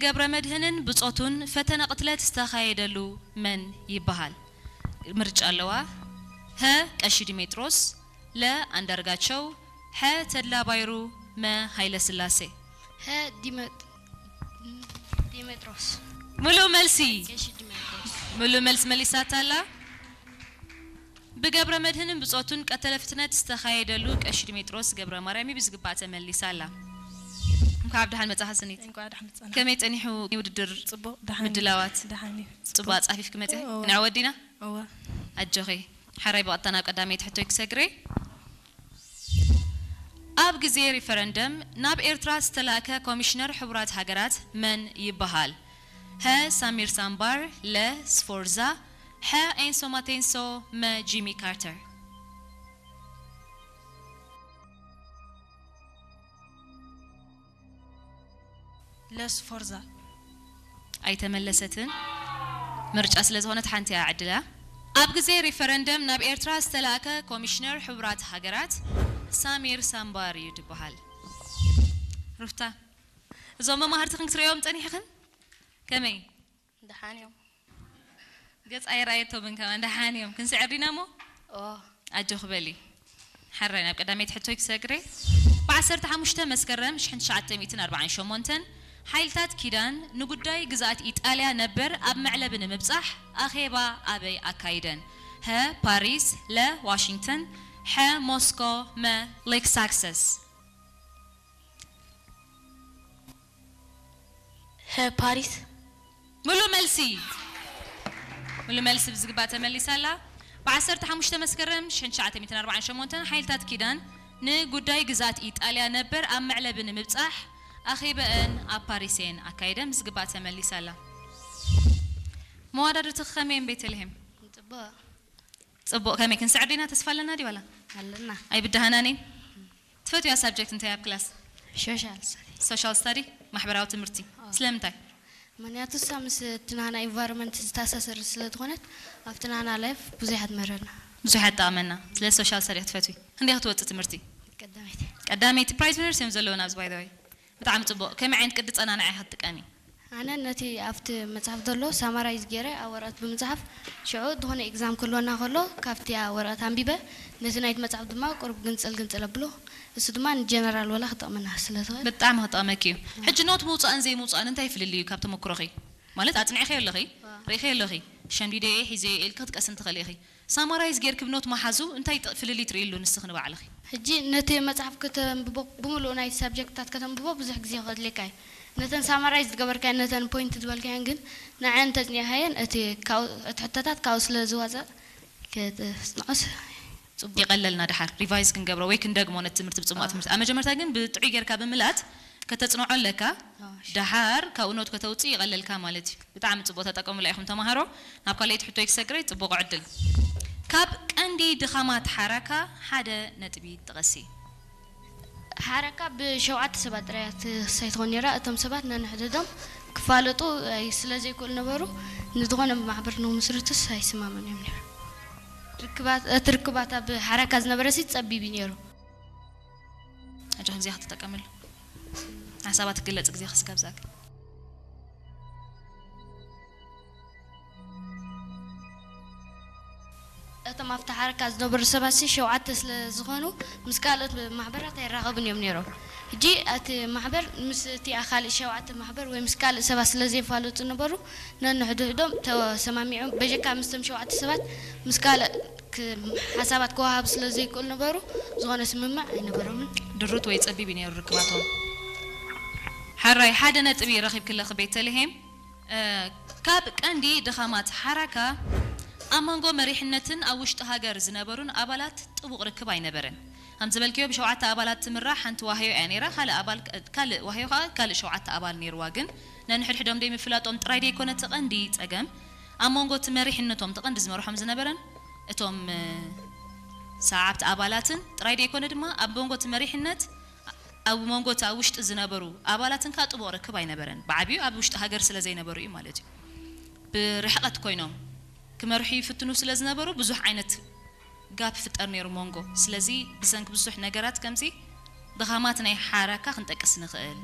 ገብረ መድህንን ብጾቱን ፈተነ ቅትለት ዝተኻየደሉ መን ይበሃል? ምርጫ ኣለዋ። ሀ ቀሺ ዲሜጥሮስ፣ ለ ኣንዳርጋቸው፣ ሐ ተድላ ባይሩ፣ መ ሃይለ ስላሴ። ሀ ዲመጥ ዲሜጥሮስ ሙሉእ መልሲ። ቀሺ ዲሜጥሮስ ሙሉእ መልሲ መሊሳታ ኣላ። ብገብረ መድህንን ብጾቱን ቀተለ ፍትነት ዝተኻየደሉ ቀሺ ዲሜጥሮስ ገብረ ማርያም እዩ። ብዝግባእ ተመሊሳ ኣላ። እንኳዕ ብደሓን መጻኻ ስኒት። እንኳዕ ደሓን መጻና። ከመይ ጸኒሑ ውድድር? ጽቡቕ ደሓን እዩ። ምድላዋት ደሓን እዩ። ጽቡቕ ኣጻፊፍኪ መጺኺ? እወ። ንዓ ወዲና? እወ። ኣጆኺ። ሓራይ ብቐጥታ ናብ ቀዳመይቲ ሕቶይ ክሰግሬ። ኣብ ግዜ ሪፈረንደም ናብ ኤርትራ ዝተላእከ ኮሚሽነር ሕቡራት ሃገራት መን ይበሃል? ሀ ሳሚር ሳምባር፣ ለ ስፎርዛ፣ ሐ ኤንሶ ማቴንሶ፣ መ ጂሚ ካርተር። ለስ ፎርዛ ኣይተመለሰትን። ምርጫ ስለ ዝኾነት ሓንቲ እያ ዕድላ። ኣብ ግዜ ሪፈረንደም ናብ ኤርትራ ዝተላእከ ኮሚሽነር ሕቡራት ሃገራት ሳሚር ሳምባር እዩ ዝበሃል። ሩፍታ፣ እዞም መማህርቲ ክንክትርእዮም ጸኒሕኽን? ከመይ? ደሓን እዮም። ገጽ ኣይረኣየቶምን ከማን ደሓን እዮም። ክንስዕር ዲና እሞ? ኦ ኣጆኺ በሊ። ሓራይ ናብ ቀዳመይቲ ሕቶይ ክሰግሬ። ብ15 መስከረም ሽሕን ትሽዓተ ሚእትን ኣርባዓን ሸሞንተን ሓይልታት ኪዳን ንጉዳይ ግዝኣት ኢጣልያ ነበር ኣብ መዕለቢ ንምብጻሕ ኣኼባ ኣበይ ኣካይደን? ሀ ፓሪስ፣ ለ ዋሽንግተን፣ ሐ ሞስኮ፣ መ ሌክሳክሰስ። ሀ ፓሪስ ሙሉ መልሲ ሙሉ መልሲ ብዝግባእ ተመሊሳ ኣላ። ብ15 መስከረም ሽሕን ትሽዓተ ሚእትን ኣርባዓን ሸሞንተን ሓይልታት ኪዳን ንጉዳይ ግዝኣት ኢጣልያ ነበር ኣብ መዕለቢ ንምብጻሕ ኣኼበአን ኣብ ፓሪስ እየን ኣካይደን። ብዝግባእ ተመሊሳ ኣላ። መዋዳድርትኺ ከመይ እየን ቤተልሔም? ጽቡቕ ጽቡቕ። ከመይ ክንስዕር ዲና? ተስፋ ኣለና ድዩ ዋላ? ኣለና። ኣይብድሃናን እየን። ትፈትያ ሳብጀክት እንታይ ኣብ ክላስ? ሶሻል ስተዲ ሶሻል ስተዲ፣ ማሕበራዊ ትምህርቲ። ስለምንታይ? ምክንያቱ እሳ ምስ እቲ ናህና ኢንቫይሮንመንት ዝተኣሳሰር ስለ ዝኾነት ኣብቲ ናህና ላይፍ ብዙሕ እያ ትምህረና። ብዙሕ እያ ትጠቕመና። ስለ ሶሻል ስተዲ ክትፈትዊ። ክንደይ ክትወጽእ ትምህርቲ? ቀዳመይቲ ቀዳመይቲ። ፕራይዝ ዊነርስ እዮም ዘለውና ኣብዚ ባይ ዘ ወይ። ብጣዕሚ ጽቡቕ። ከመይ ዓይነት ቅዲ ጸናንዓ ኢኻ ትጥቀሚ? ኣነ ነቲ ኣብቲ መጽሓፍ ዘሎ ሳማራይዝ ገይረ ኣብ ወረቐት ብምጽሓፍ ሽዑ ዝኾነ ኤግዛም ክህልወና ከሎ ካብቲ ወረቐት ኣንቢበ ነቲ ናይቲ መጽሓፍ ድማ ቁሩብ ግንጽል ግንጽል ኣብሎ። እሱ ድማ ንጀነራል ወላ ክጠቕመና ስለ ዝኽእል ብጣዕሚ ክጠቕመኪ እዩ። ሕጂ ኖት ምውጻእን ዘይምውጻእን እንታይ ፍልልይ እዩ ካብ ተመክሮኺ? ማለት ኣጽኒዕኺ ኣለኺ፣ ርኢኺ ኣለኺ፣ ሸምዲደ እየ ሒዘ እየ ኢልኪ ክትቀስን ትኽእሊ ኢኺ። ሳማራይዝ ጌርኪ ብኖት ምሓዙ እንታይ ጥ- ፍልልይ ትርእይሉ ንስኺ ንባዕልኺ? ሕጂ ነቲ መጽሓፍ ከተንብቦ ብምሉኡ ናይ ሳብጀክትታት ከተንብቦ ብዙሕ ግዜ ከድልየካ እዩ። ነተን ሳማራይዝ ዝገበርካየን ነተን ፖይንት ዝበልካየን ግን ንዐን ተጽኒዕካየን እቲ ካብኡ- እቲ ሕቶታት ካብኡ ስለ ዝወጸእ ክትጽንዖስ ጽቡቅ። ይቐለልና ድሓር ሪቫይዝ ክንገብሮ ወይ ክንደግሞ ነቲ ትምህርቲ ብጽሙቕ ትምህርቲ ኣብ መጀመርታ ግን ብጥዑይ ጌርካ ብምልኣት ከተጽንዖ ኣለካ። ድሓር ካብኡ ኖት ከተውጽእ ይቐለልካ ማለት እዩ። ብጣዕሚ ጽቡቕ ተጠቀሙላ ኢኹም ተማሃሮ። ናብ ካልኣይቲ ሕቶይ ክሰግረይ ጽቡቕ ዕድል። ካብ ቀንዲ ድኻማት ሓራካ ሓደ ነጥቢ ጥቐሲ። ሓረካ ብሸውዓተ ሰባት ጥራይ እያ ትኽሰይ ትኾን ነይራ። እቶም ሰባት ነንሕድሕዶም ክፋለጡ ኣይ- ስለ ዘይክእሉ ነበሩ። ንዝኾነ ማሕበር ንምስርትስ ኣይስማምን እዮም ነይሩ። ርክባት- እቲ ርክባት ኣብ ሓረካ ዝነበረ ሲ ጸቢብ እዩ ነይሩ። ኣጆ ግዜ ክትጠቀምሉ ሓሳባት ክግለጽ ግዜ ክስጋብ ዛግ እቶም ኣብቲ ሓረካ ዝነበሩ ሰባት ሲ ሸውዓተ ስለ ዝኾኑ ምስ ካልኦት ማሕበራት ኣይራኸቡን እዮም ነይሮም። ሕጂ እቲ ማሕበር ምስ እቲ ካልእ ሸውዓተ ማሕበር ወይ ምስ ካልእ ሰባት ስለ ዘይፋለጡ ነበሩ ነንሕድሕዶም ተሰማሚዖም በጀካ ምስቶም ሸውዓተ ሰባት ምስ ካልእ ክ- ሓሳባት ክወሃቡ ስለ ዘይክእሉ ነበሩ ዝኾነ ስምምዕ ኣይነበሮምን። ድሩት ወይ ጸቢብ እዩ ነይሩ ርክባቶም። ሓራይ ሓደ ነጥቢ ረኺብክለኺ ቤተልሔም። እ፣ ካብ ቀንዲ ድኻማት ሓራካ ኣብ መንጎ መሪሕነትን ኣብ ውሽጢ ሃገር ዝነበሩን ኣባላት ጥቡቕ ርክብ ኣይነበረን። ከም ዝበልክዮ ብሸውዓተ ኣባላት ትምራሕ ሓንቲ ዋህዮ እያ ነይራ። ካልእ ኣባል ካልእ ዋህዮ ከዓ ካልእ ሸውዓተ ኣባል ነይርዋ። ግን ነንሕድሕዶም ደይ ምፍላጦም ጥራይ ደይኮነ እቲ ቀንዲ ጸገም ኣብ መንጎ እቲ መሪሕነቶም እቲ ቀንዲ ዝመርሖም ዝነበረን እቶም እ፣ ሰዓብቲ ኣባላትን ጥራይ ደይኮነ ድማ ኣብ መንጎ እቲ መሪሕነት ኣብ መንጎ እቲ ኣብ ውሽጢ ዝነበሩ ኣባላትን ከዓ ጥቡቕ ርክብ ኣይነበረን። ብዓብዩ ኣብ ውሽጢ ሃገር ስለ ዘይነበሩ እዩ ማለት እዩ። ብርሕቐት ኮይኖም ክመርሑ ይፍትኑ ስለ ዝነበሩ ብዙሕ ዓይነት ጋፕ ፍጠር ነይሩ መንጎ። ስለዚ ብሰንኪ ብዙሕ ነገራት ከምዚ ድኻማት ናይ ሓራካ ክንጠቅስ ንኽእል።